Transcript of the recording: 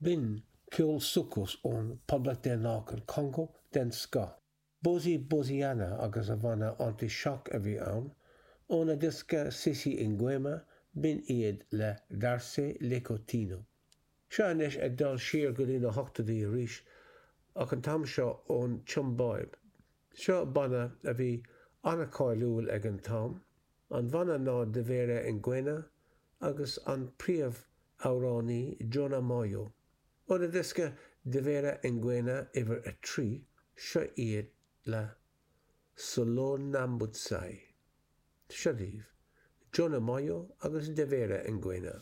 B'in ceol soukous ón Poblacht Daonlathach an Chongó den scoth. Bozi Boziana agus a bhanna Anti-Choc a bhí ann, óna diosca Sisi Nguema, b'in iad le Darse Lekotino. Seo anois ag dul siar go dtí na hochtóidí arís, ach an t-am seo ón tSiombáib. Seo banna a bhí an-cháiliúil ag an t-am. An banna ná Devera Ngwena agus an príomh-amhránaí Jonah Moyo. Óna diosca Devera Ngwena uimhir 3, seo iad le Solonambutsai. Seo daoibh, Jonah Moyo agus Devera Ngwena.